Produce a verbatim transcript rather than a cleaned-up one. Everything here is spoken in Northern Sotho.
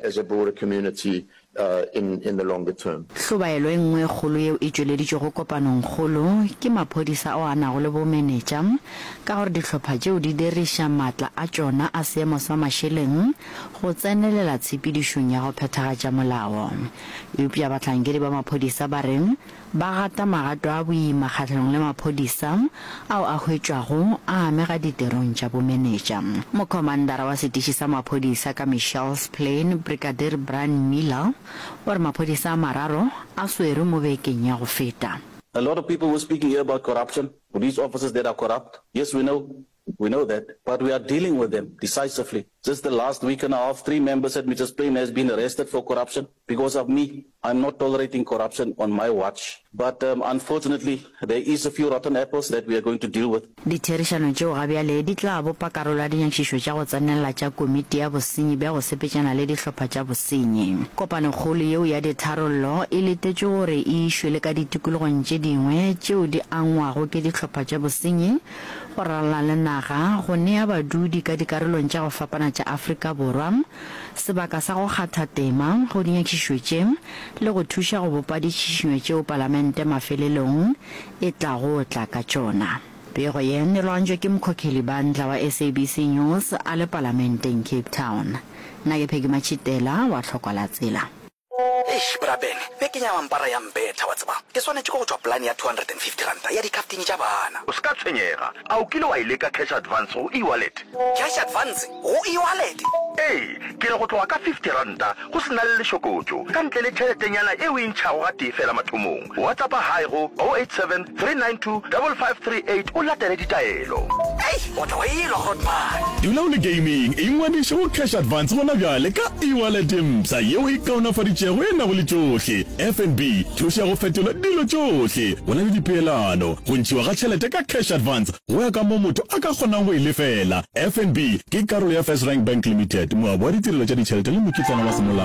as a broader community uh, in, in the longer term. Hlobaelo e nngwe e kgolo yeo e tšweleditšwego kopanongkgolo ke maphodisa ao a nago le bomenetša ka gore dihlopha tšeo di diriša maatla a tšona a seemo sa mašeleng go tsenelela tshepedišong ya go phethagatša molao. Eupša bahlankedi ba maphodisa ba re ba gata magato a boima kgahlanong le maphodisa ao a hwetšwago a amega ditirong tša bomenetša. Mokhomandara wa setiši sa maphodisa ka Mitchells Plain, Brigadier Brian Miller, o re maphodisa a mararo a swerwe mo bekeng ya go feta. A lot of people were speaking here about corruption, police officers that are corrupt. Yes, we know, we know that, but we are dealing with them decisively. Just the last week and a half, three members at Mitchells Plain has been arrested for corruption. Because of me, I'm not tolerating corruption on my watch. But um, unfortunately, there is a few rotten apples that we are going to deal with. Ditherišano tšeo ga bjale di tla bopa karolo ya dinyakišišo tša go tsenelela tša Komiti ya Bosenyi bja go Sepetšana le Dihlopha tša Bosenyi. Kopanokgolo yeo ya ditharollo e letetšwe gore e išwe le ka ditikologong tše dingwe tšeo di angwago ke dihlopha tša bosenyi go ralala le naga go nea badudi ka dikarolong tša go fapana tša Afrika Borwa sebaka sa go kgatha tema go dinyakišišo tše le go thuša go bopa ditšhišinyo tšeo Palamente mafelelong e tlago tla ka tšona. Pego ye e lwantšwe ke Mkhokheli Bandla wa SABC News a le Palamenteng Cape Town. Nna ke Peggy Matšhitela wa Tlhokwa la Tsela. Eish, Bra Ben, bekeng ya mampara ya mpetha, wa tseba. Ke swanetše ke go tšwa polane ya two hundred and fifty ranta ya dikhaftini tša bana. O se ka tshwenyega. A o kile wa e leka cash advance go eWallet? Cash advance go eWallet? Ee, ke re go tloga ka fifty ranta go se na le lešokotšo, ka ntle le tšheletenyana e o e ntšhago gatee fela mathomong. WhatsAppa hi go oh eight seven, three nine two, double five three eight o latele ditaelo. Ei, o tla wa elwa, Grootman. Dula o le gaming, ingwadiše go Cash Advance gona bjale ka eWallet e mpsha yeo e kaonafaditšego e nago le tšohle. FNB, thuša go fetola dilo tšohle. Go na le dipeelano, go ntšhiwa ga tšhelete ka Cash Advance go ya ka moo motho a ka kgonang go e lefela. FNB ke karolo ya FirstRand Bank Limited, moabi wa ditirelo tša ditšhelete le mokitlana wa semolao.